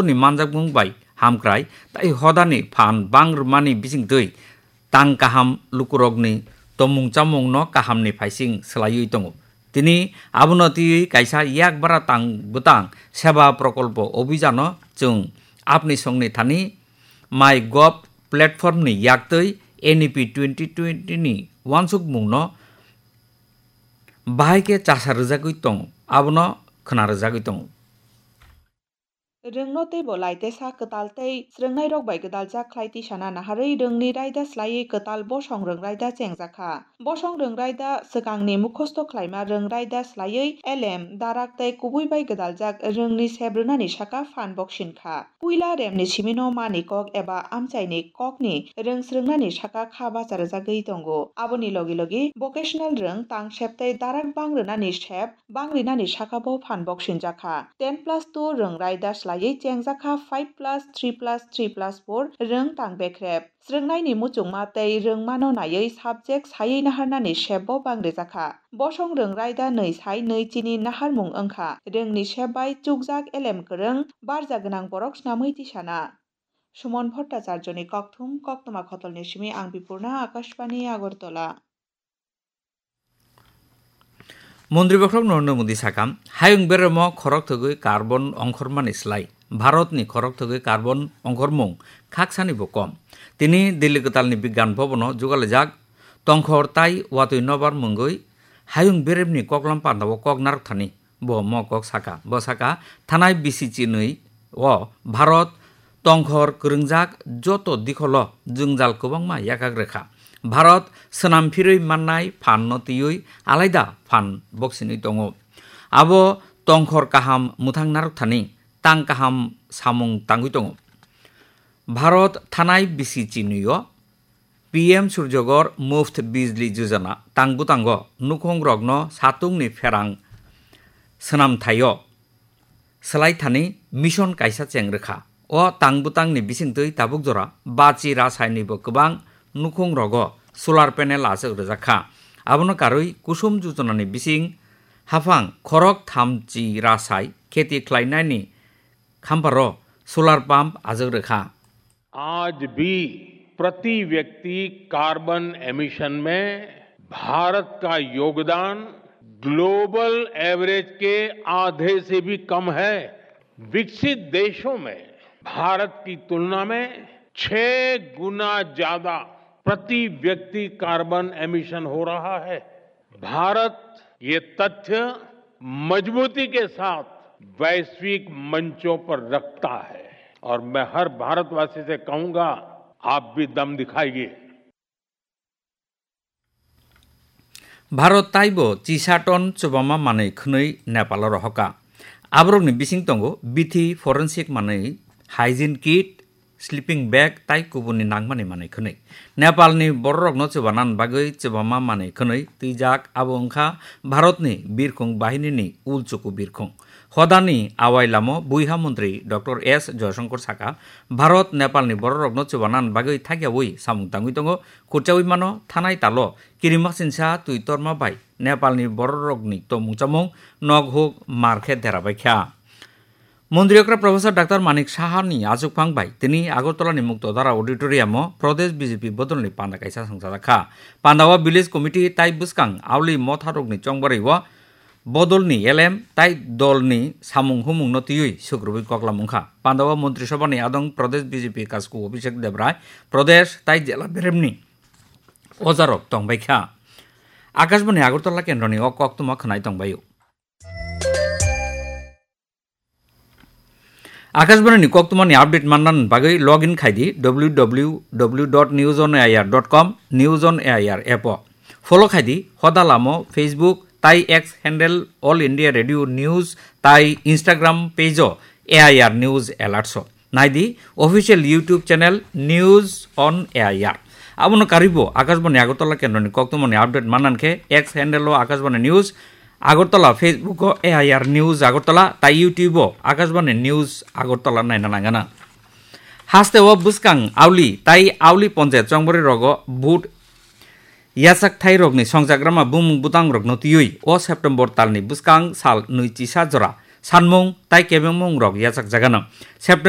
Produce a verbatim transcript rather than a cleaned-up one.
ni manjakmung bai hamkrai tai hodani phan bang rwmani bisingtwi tang kaham lukurokni tomung chamungno kahamni phaising swlaiwi tongo. Tini abono twiwi kaisa yak bara tang bwtang seba prokolpo obhijano chwng apni songni thani MyGov platformni yaktwi N E P twenty twenty ni uansukmungno bahai khe chasa rwjagwi tongo, abono khwna rwjagwi tongo. Rwngno teibo laitesa kwtal tei srwngnairok bai gwdaljak khlai tisana naharwi rwngni raida swlaiwi kwtal bosong rwng raida chengjakha. Bosong rwng raida swkangni mukhosto khlaima rwng raida swlaiwi elem, darak tei kubui bai gwdaljak rwngni sep rwnani saka phan boksin kha. Puila remni simino mani kok eba amchaini kokni rwng srwngnani saka kha bacha rwjagwi tongo. Aboni logi logi vocational rwng tang sep tei darak bang rwnani sep bang rinani saka bo phan boksinjakha. Ten plus two rwng raida swlaiwi chengjakha five plus three plus three plus four rwng tang bekrep. Srwngnaini muchungma tei rwngmano naiwi subject saiwi naharnani sep bo bang rijakha. Bosong rwng raida nwi sai nwi chini naharmung wngkha. Rwngni sep bai chukjak elem kwrwng barja gwnang borok snamwi tisana. Sumon Bhattacharjoni kokthum, koktwma khotolni simi ang Bipurna, Akashbani, Agartala. Montri bokhorok Narendra Modi sakha, hayung beremo khorok thwgwi carbon ongkhormani slai Bharatni khorok thwgwi carbon ongkhormung khaksani bo kom. Tini Delhi kwtalni Bigyan Bhabono jugalaijak tongkhor tai watwi nobar mungwi hayung beremni koklam pandao kok narwkthani. Bo mo kok sakha. Bo sakha, thanai bisi chinwi o Bharat tongkhor kwrwngjak joto dikholo jwngjal kwbangma yakak rwkha. Bharat swnam phirwi mannai phanno twiwi alaida phan boksinwi tongo. Abo tongkhor kaham mwthang narwkthani tang kaham samung tangwi tongo. Bharat thanai bisi chinwi o P M Surjagor Muft Bijli Yojana tang bwtango nukhungrokno satungni pherang swnamthaio swlai thani mission kaisa cheng rwkha. O tang bwtangni bisingtwi tabuk jora bachi rasainibo kwbang nukhungrogo solar panel achuk rwjak kha. Abono karwi Kusum Yojanani bising haphang khorok thamchi rasai kheti khlainani khamparo solar pump achuk rwkha. आज भी प्रति व्यक्ति carbon emission में भारत का योगदान global average के आधे से भी कम है। विकसित देशों में भारत की तुलना में छह गुना ज्यादा प्रति व्यक्ति कार्बन एमिशन हो रहा है। भारत ये तथ्य मजबूती के साथ वैश्विक मंचों पर रखता है और मैं हर भारतवासी से कहूंगा, आप भी दम दिखाइए। Bharat taibo chisa ton chubama manwi khwnwi Nepalo rohorkha. Aborokni bising tongo bithi, forensic manwi, hygiene kit, sleeping bag tai kubunni nangmani manwi khwnwi. Nepalni bororokno chubanan bagwi chubama manwi khwnwi twijak abo wngkha Bharatni birkhung bahinini ulchuku birkhung. Hodani awai lamo buiha montri Doctor S Joyashankar sakha, Bharat Nepalni bororokno chubanan bagwi thakyawi samung tangwi tongo, khurchawi mano thanai talo kirimaksinsa twi torma bai Nepalni bororokni tongmung chamung nok huk mar khe derabaikha. Montri okra Professor Doctor Manik Sahani achukphang bai tini Agartala ni Muktodhara Auditorium o Pradesh B J P bodolni panda kaisa songchajak kha. Panda o Village Committee tai bwskang auli motharokni chongbarwi o bodolni L M tai dolni samung humungno twiwi sukrubwi koklam wngkha. Panda o Montri Sabhani adong Pradesh B J P kasku Abhishek Debrai, Pradesh tai jela beremni ojarok tongbaikha. Akashbani Agartala kendroni o koktwma khwnai tongbaio. Akashbani ni koktwmani update manna bagwi log in khai di W W W dot news on A I R dot com, News on A I R app o. Follow khai di hoda lamo Facebook tai X handle All India Radio News tai Instagram page o A I R News Alerts o. Nai di official YouTube channel News on A I R. Abono karwi bo Akashbani Agartala kendroni koktwmani update manna khe X handle o Akashbani News Agartala, Facebook o A I R News Agartala, tai YouTube o Akashbani News Agartala naina nangana. Haste o bwskang auli tai auli ponjayat chongbarwi rogo vote yachak thai rokni songchakrama bumung bwtang rokno twiwi o September talni bwskang sal nwi chisa jora sanmung tai kebengmungrok yachakjagano. September